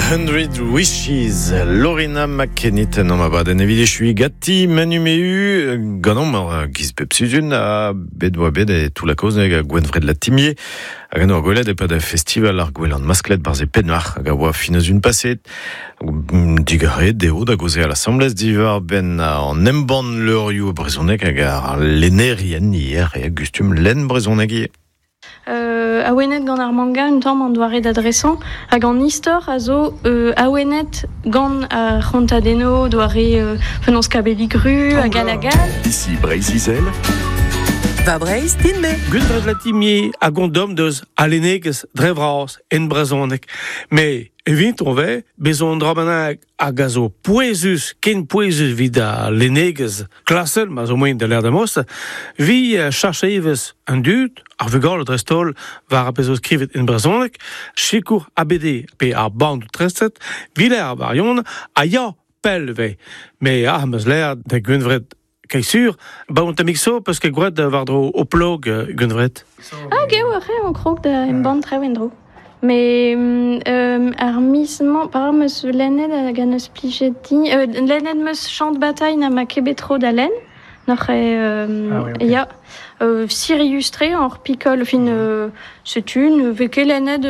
Hundred Wishes, Lorena McKennitt en am abadenn evit echui gati Manu Mehu ganomp ar giz pep sizhun ha bet oa bet e Toull-la-Kozh hag a Gwenvred Latimier hag an oa gwelet e-pad festival ar Gouelan Masklet barzh e Penmarc'h hag a oa fin eus un paset digarez dezho da gaozeal asambles diwar-benn an embann levrioù brezhonek hag ar lennerien ivez e gustum lenn brezhoneg ivez. Awenet gant ar manga un tamm an doare da dresañ hag an istor a zo awenet gant ar c'hontadennoù doare penaos kabellig ru hag all hag all. Ici Breizh-Izel. Va Breizh din-me. Gundred Latimier a gondom deus alennegezh dre vras en brezhoneg. Me evit on vez bezañ un dra bennak hag a zo pouezus, ken pouezus evit al lennegezh klasel, ma zo moaien da lâret amos, vi chach evezh an dud, ar vugale dreist-holl, war ar pezh zo skrivet en brezhoneg, sikour ABD pe ar bandoù treset, viler ar varion, a ya pell vez. Me ah, 'm eus lâret da Gwenvred Kaisur, ba on tammig so peus ket gwraet war-dro ho plog, Gwenvred? Ah, geo, ur re on krog da embann traoù en-dro. Mais ar miz-mañ, par 'm eus lennet hag en eus plijet din... lennet 'm eus Champ de bataille na ma ket bet tro da lenn. N'oc'h eo... ya. Sirius-tre hor pikol, fin, setu, ne vez ket lennet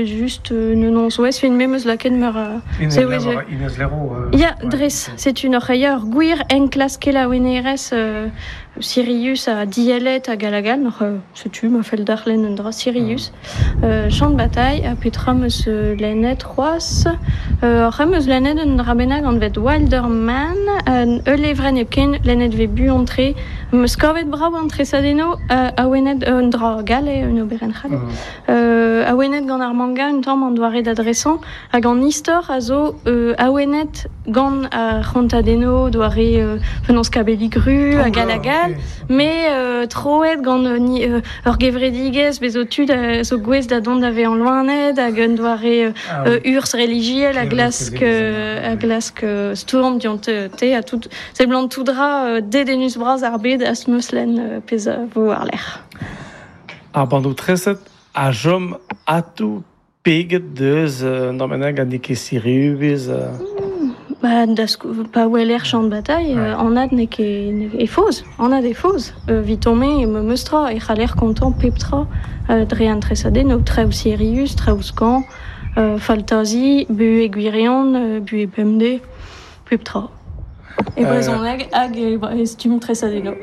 just ne n'on fin me 'm eus lakaet meur a... Inès Léraud. Ya, dres, setu n'oc'h eo ur gwir enklask kelaouennerezh sirius ha diellet hag all hag all, n'oc'h setu ma fell deoc'h lenn un dra sirius. Champ de bataille, ha petra 'm eus lennet c'hoazh? Oc'h em eus lennet un dra bennak anvet Wilderman, ul levrenn hepken, lennet 'vez buan-tre. 'M eus kavet brav an tresadennoù, awenet un dra gall eo, un oberenn c'hall. Awenet gant ar manga un tamm an doare da dresañ, hag an istor a zo awenet gant ar c'hontadennoù doare penaos kabellig ru hag all hag all, met troet gant ur gevredigezh bez' zo tud a zo gouest da dont da vezañ loened hag un doare urzh relijiel a glask a glask stourm dionte ha tout seblant tout dra dedennus-bras ar bed a 'm eus lenn pezh a vo war-lerc'h. Ar bandoù treset a chom atav peget deus un dra bennak ha n'eo ket sirius. Ba, da pa weler Champ de bataille, anat n'eo ket e faoz, anat e faoz. Eviton-me, memes tra, e c'haller kontañ pep tra dre an tresadennoù, traoù sirius, traoù skañv, faltazi, buhez gwirion, buhez bemdez, pep tra. E brezhoneg hag e stumm tresadennoù.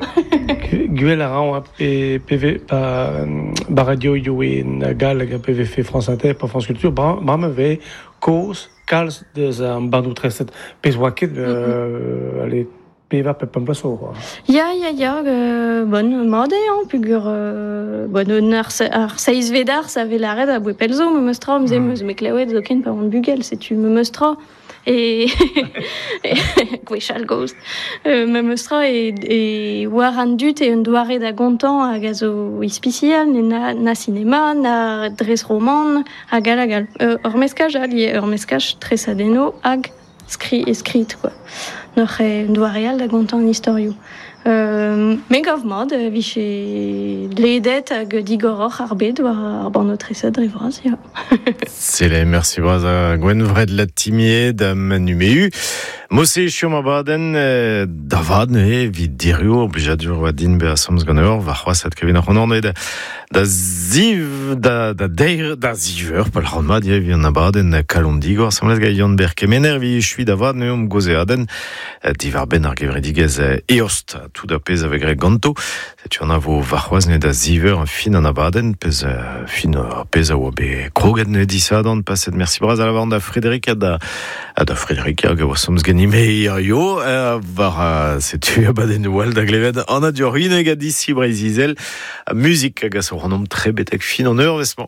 Gwell a ran pe, pe, pa, ba radioioù en galleg pe vefe France Inter pe France Culture, bremañ vez kozh kalz deus an bandoù treset. Pezh oa ket allez, pevar pe pemp bloaz zo. Ya, ya, ya, bon, mat eo, hañ, peogwir bon, ar, ar seizhvet arz a vez lâret aboe pell zo, memes tra, 'm eus me klevet zoken pa oan bugel, setu memes tra. E gwechall gozh. Memes tra e, e war an dud eo un doare da gontañ hag a zo ispisial, na, na sinema, na dres roman, hag all hag all. Ur meskaj all ivez, ur meskaj tresadennoù hag skri e skrid quoi. N'oc'h un doare all da gontañ an istorioù. Me gav mat e vije ledet hag digoroc'h ar bed war ar bannoù treset dre vras, ya. Sele, merci bras a Gwenvred Latimier da Manu Mehu. Mose echuomp abadenn da vat neuze evit diriv ur blijadur oa din bezañ asambles ganeoc'h warc'hoazh adkavin ac'hanon da da ziv da da deir da ziv eur pa lâran mat ivez evit an abadenn Kalon Digor asambles gant Yann-Ber Kemener evit echuiñ da vat neuze omp gaozeadenn diwar-benn ar gevredigezh Eost tout ar pezh a vez graet ganto. Setu an a vo warc'hoazh neuze da ziv eur fin an abadenn pezh fin ar pezh a oa bet kroget neuze disadorn paset. Merci bras a lavaran da Frédéric ha da ha da Frédéric hag a oa somz ganime hirio war setu abadennoù all da glevet Anna Diorrineg ha d'ici Breizh-Izel. Muzik hag a zo c'hanomp tre betek fin an eurvezh-mañ.